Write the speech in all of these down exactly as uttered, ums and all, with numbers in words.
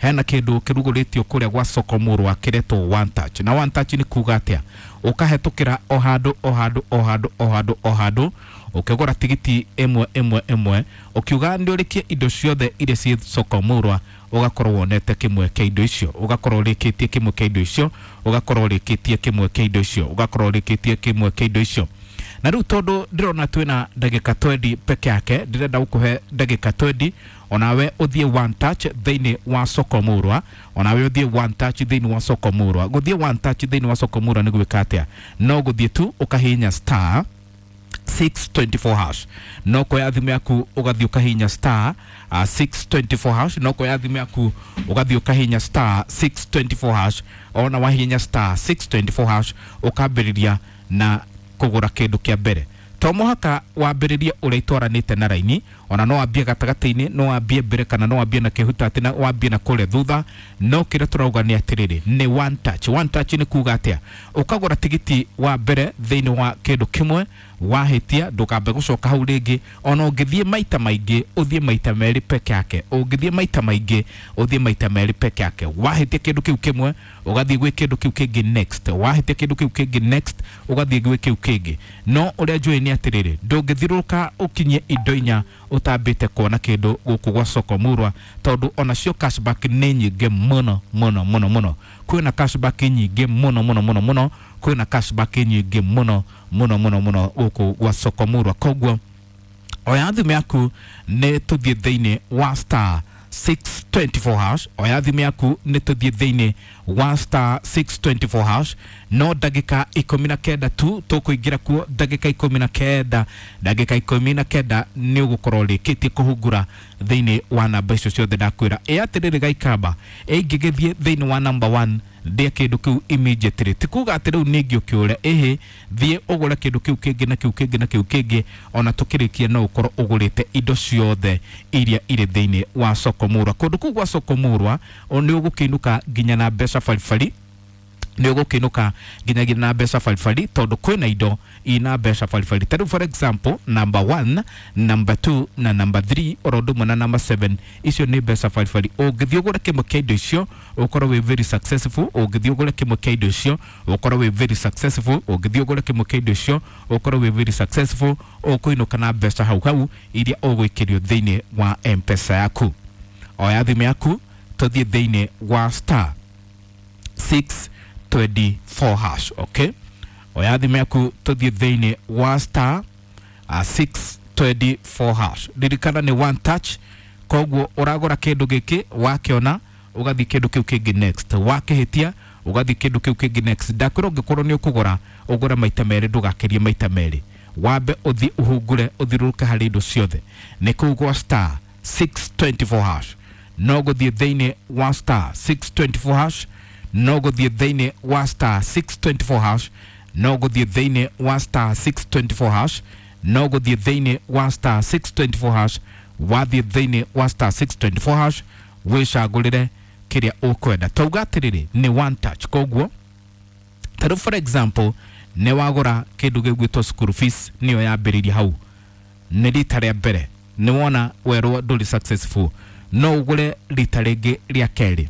Hena kĩndũ kĩrugũrĩtio kũrĩa gwa soko Mũrwa kĩretwo One Touch. Na One Touch nĩ kuga atĩa? Ũkahetũkĩra o handũ o handũ o handũ o handũ o handũ, ũkĩgũra tigiti ĩmwe ĩmwe ĩmwe, ũkiuga nĩ ũrĩkie indo ciothe iria ciĩ soko Mũrwa, ũgakorwo wonete kĩmwe kĩa indo icio, ũgakorwo ũrĩkĩtie kĩmwe kĩa indo icio, ũgakorwo ũrĩkĩtie kĩmwe kĩa indo icio, ũgakorwo ũrĩkĩtie kĩmwe kĩa indo icio. Na rĩu tondũ ndĩrona twĩna ndagĩka twendi peke yake, ndĩrenda gũkũhe ndagĩka twendi onawe ũthiĩ One Touch thĩinĩ wa soko Mũrwa, onawe ũthiĩ One Touch thĩinĩ wa soko Mũrwa. Gũthiĩ One Touch thĩinĩ wa soko Mũrwa nĩ gwĩka atĩa? No gũthiĩ tu ũkahihinya star six twenty-four hash. No kuoya thimũ yaku ũgathiĩ ũkahihinya star uh, six twenty-four hash. No kuoya thimũ yaku ũgathiĩ ũkahihinya star six twenty-four hash. Ona wahihinya star six twenty-four hash, ũkambĩrĩria na kũgũra kĩndũ kĩa mbere. To mũhaka wambĩrĩrie ũrĩa itwaranĩte na raini, ona no wambie gatagatĩ-inĩ, no wambie mbere, kana no wambie na kĩhutatĩ, na wambie na kũrĩa thutha. No kĩrĩa tũrauga nĩ atĩrĩrĩ, nĩ One Touch. One Touch nĩ kuga atĩa? Ũkagũra tigiti wa mbere thĩinĩ wa kĩndũ kĩmwe, wahĩtia ndũkambe gũcoka hau rĩngĩ. Ona ũngĩthiĩ maita maingĩ, ũthiĩ maita merĩ peke yake. Ũngĩthiĩ maita maingĩ, ũthiĩ maita merĩ peke yake. Wahĩtia kĩndũ kĩu kĩmwe, ũgathiĩ gwĩ kĩndũ kĩu kĩngĩ next. Wahĩtia kĩndũ kĩu kĩngĩ next, ũgathiĩ gwĩ kĩu kĩngĩ. No ũrĩa njũĩ nĩ atĩrĩrĩ, ndũngĩthiũrũrũka ũkinyie indo inya ũtambĩte kuona kĩndũ gũkũ gwa soko Mũrwa, tondũ onacio cashback nĩ nyingĩ mũno mũno mũno mũno. Kwĩna cashback nyingĩ mũno mũno mũno mũno. Kwĩna cashback nyingĩ mũno mũno mũno mũno gũkũ gwa soko Mũrwa. Koguo oya thimũ yaku nĩ tũthiĩ thĩinĩ wa star six twenty-four hash. Oya thimũ yaku nĩ tũthiĩ thĩinĩ wa star six twenty-four hash. No ndagĩka ikũmi na kenda tu tũkũingĩra kuo, ndagĩka ikũmi na kenda, ndagĩka ikũmi na kenda nĩ ũgũkorwo ũrĩkĩtie kũhungura thĩinĩ wa namba icio ciothe ndakwĩra. Ĩ atĩrĩrĩ, gaikamba ĩngĩgĩthiĩ thĩinĩ wa number one, ndĩa kĩndũ kĩu immediately. Ti kuga atĩ rĩu ningĩ ũkĩũre, ĩhĩ, thiĩ ũgũre kĩndũ kĩu kĩngĩ na kĩu kĩngĩ na kĩu kĩngĩ. Ona tũkĩrĩkia no ũkorwo ũgũrĩte indo ciothe iria irĩ thĩinĩ wa soko Mũrwa. Kũndũ kũu gwa soko Mũrwa nĩ ũgũkĩinũka nginya na mbeca baribari, nĩ ũgũkĩinũka nginyagia na mbeca baribari, tondũ kwĩna indo ina mbeca baribari. Ta rĩu for example, number one, number two na number three, oro ũndũ ũmwe na number seven, icio nĩ mbeca baribari. Ũngĩthiĩ ũgũre kĩmwe kĩa indo icio, ũkorwo wĩ very successful. Ũngĩthiĩ ũgũre kĩmwe kĩa indo icio, ũkorwo wĩ very successful. Ũngĩthiĩ ũgũre kĩmwe kĩa indo icio, ũkorwo wĩ very successful. Ũkũinũka na mbeca hau hau iria ũgũikĩrio thĩinĩ wa M-Pesa yaku. Oya thimũ yaku tũthiĩ thĩinĩ wa star six twenty-four hash. Okay, oya thimũ yaku tũthiĩ thĩinĩ wa star uh, six twenty-four hash. Ririkana nĩ One Touch, koguo ũragũra kĩndũ gĩkĩ, wakĩona ũgathiĩ kĩndũ kĩu kĩngĩ next, wakĩhĩtia ũgathiĩ kĩndũ kĩu kĩngĩ next. Ndakwĩra ũngĩkorwo nĩ ũkũgũra, ũgũre maita merĩ, ndũgakĩrie maita merĩ. Wambe ũthiĩ ũhungure, ũthiũrũrũke harĩ indo ciothe. Nĩ kũu gwa star six twenty-four hash. No gũthiĩ thĩinĩ wa star six twenty-four hash, no gũthiĩ thĩinĩ wa star six twenty-four hash, no gũthiĩ thĩinĩ wa star six twenty-four hash, no gũthiĩ thĩinĩ wa star six twenty-four hash. Wathiĩ thĩinĩ wa star six twenty-four hash, wĩcagũrĩre kĩrĩa ũkwenda. Tauga atĩrĩrĩ, nĩ One Touch. Koguo tarĩu for example, nĩ wagũra kĩndũ gĩgwĩtwo school fees, nĩyo yambĩrĩria hau nĩ rita rĩa mbere, nĩ wona werwo ndũrĩ successful, no ũgũre rita rĩngĩ rĩa kerĩ.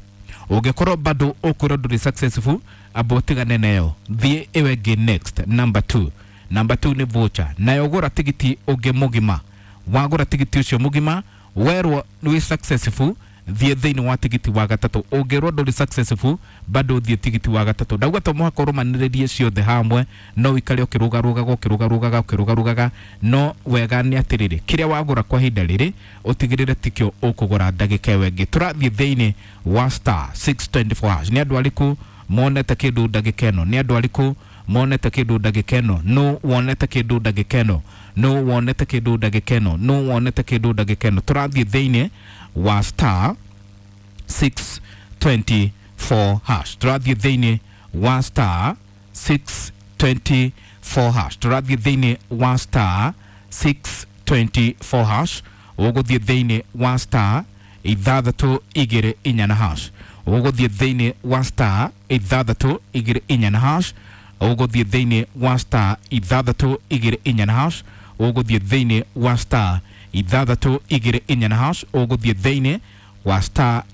Ũngĩkorwo bado ũkwĩrwo ndũrĩ successful, amba ũtigane nayo, thiĩ ĩyo ĩngĩ next, number two. Number two nĩ voucher, nayo gũra tigiti ũngĩ mũgima. Wagũra tigiti ũcio mũgima, werwo wĩ successful, thiĩ thĩinĩ wa tigiti wa gatatũ. Ũngĩrwo ndũrĩ successful, bado thiĩ tigiti wa gatatũ. Ndauga to mũhaka ũrũmanĩrĩrie ciothe hamwe, no ũikare ũkĩrũgarũgaga, ũkĩrũgarũgaga, ũkĩrũgarũgaga. No wega nĩ atĩrĩrĩ, kĩrĩa wagũra kwa ihinda rĩrĩ, ũtigĩrĩre tikĩo ũkũgũra ndagĩka ĩyo ĩngĩ. Tũrathiĩ thĩinĩ wa star six twenty-four hash. Nĩ andũ arĩkũ monete kĩndũ ndagĩka ĩno? Nĩ andũ arĩkũ monete kĩndũ ndagĩka ĩno? No wonete kĩndũ ndagĩka ĩno? No wonete kĩndũ ndagĩka ĩno? No wonete kĩndũ ndagĩka ĩno? Tũrathiĩ thĩinĩ wa star six twenty-four hash. Tũrathiĩ thĩinĩ wa star six twenty-four hash. Tũrathiĩ thĩinĩ wa star six twenty-four hash. Ũgũthiĩ thĩinĩ wa star ithathatũ igĩrĩ inya na hash. Ũgũthiĩ thĩinĩ wa star ithathatũ igĩrĩ inya na hash. Ũgũthiĩ thĩinĩ wa star ithathatũ igĩrĩ inya na hash. Ũgũthiĩ thĩinĩ wa star ithathatũ igĩrĩ inya na hash. Ũgũthiĩ thĩinĩ wa star.